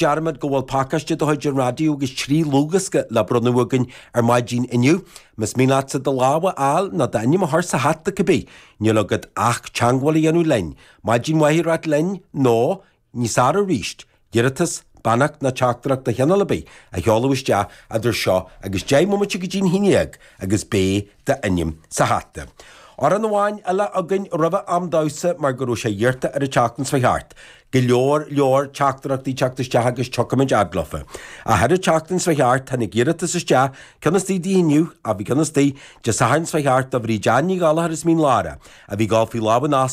Dearmad go bhfuil pacáiste de chuid an raidió agus 3 dhlúthdhiosca le bronnadh againn ar maidin inniu. Más mian leatsa do lámh a fháil nó d'ainm a chur sa hata cibé, níl agat ach teagmháil a dhéanamh linn. Maidin mhaith a ráit linn nó, níos fearr arís, iarratas, beannacht nó teachtaireacht de chineál ar bith a sheoladh isteach idir seo agus 10 mbomaite go dtí'n 11 agus beidh d'ainm sa hata. Amhrán amháin eile againn roimhe am damhsa mar go raibh sé iarrta ar an tseachtain seo thart. Go leor leor teachtaireachtaí teacht isteach agus tiocfaimid fhad leofa. Ach ar an tseachtain seo thart tháinig iarratas isteach, ceann istigh di inniu, ach bhí ceann istigh Dé Sathairn seo thart do Bhríd Ann Ní Ghallchóir as Mín Lárach, a bhí ag dul faoi lámh an.